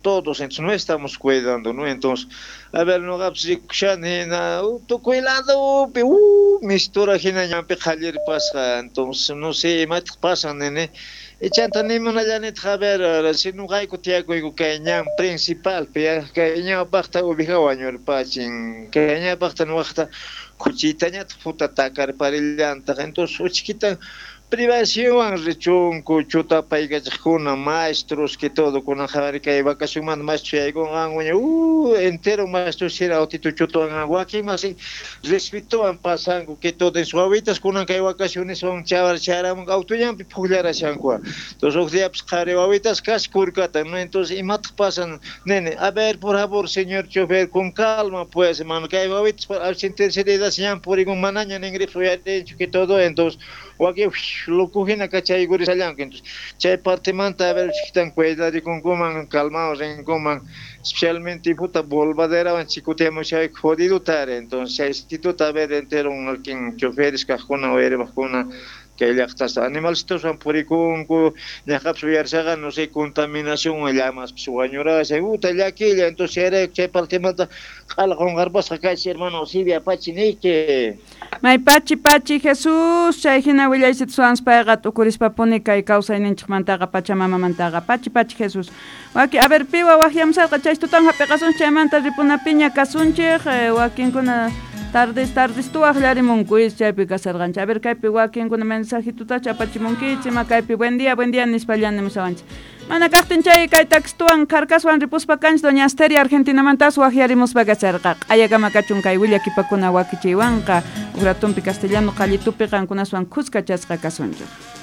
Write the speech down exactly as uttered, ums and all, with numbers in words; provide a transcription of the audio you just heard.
Todos, entonces no estamos cuidando, ¿no? Entonces, a ver, noqapis rikushani hina tukuy ladopi, uh, mistura hina ñanpi qhallirpasqa, entonces no sé imataq pasan nini. Chanta nimunallanitaq, a ver, si noqayku tiyakuyku kay ñan principalpi, kay ñawpaqta oveja wañurpachin, kay ñawpaqta nuqaqta khuchitañataq puta takarparillantaq, entonces uchkita privacionwan richunku chutapaykachaqkuna maestros que todo kunan qhawari kay vacacionmanta maestro yaykunqankuña, uh, entero maestro sira autito chutuwan wakin masi respetuwan pasanku que todo en su wawitas kunan kay vacaciones son chavar charamun autollampi pukllarashanku. Entonces huk diapis qhari wawitas casi kurkata, ¿no? Entonces imataq pasan nene, a ver, por favor, señor chofer, con calma pues, hermano, kay wawitas al tercera edad ñan purikun manaña ningripis uyarinchu que todo, entonces wakin loco hina kachaykurishallanku. Entonces chay partemanta a ver chiquitan cuidarikunkuman, calmado rinkuman, especialmente puta volvaderawan chikutiamushay jodido tare, entonces chay instituto a ver entero wakin choferes kaqkuna uyariwaqkuna kay llaqtasta animalcitoswan purikunku ñaqapis uyarishaqa no sé contaminación llamaspis wañurashay uta llakilla, entonces chayrayku chay partemanta q'ala qunqarpasqa kaychik hermano Silvia pachi niyki. May pachi pachi Jesús, chay hina willaysituswan payqa t'ukurispapuni kay kawsayninchikmantaqa pachamamamantaqa pachi pachi Jesús. Waki, a ver, piwa waqyamusarqa chay tutan hap'iqasunchik chaymanta ripunapiña kasunchik, wakinkuna tardes tardes tuwaqllarimunkuis chaypi kasarqanchik. A ver, kaypi wakinkuna mensajitutacha apachimunkichik, ima kaypi buen día, buen día nispallan nimusawanchik. Mana kaqtin chay kay taxtuwan karkaswan ripuspa kanchik doña Asteria Argentinamantas waqyarimuspa kasarqa. Q'ayakama kachun kay willakipakuna wakichiywanqa uratumpi castellano qallitupi qankunaswan khuskachasqa kasunchik.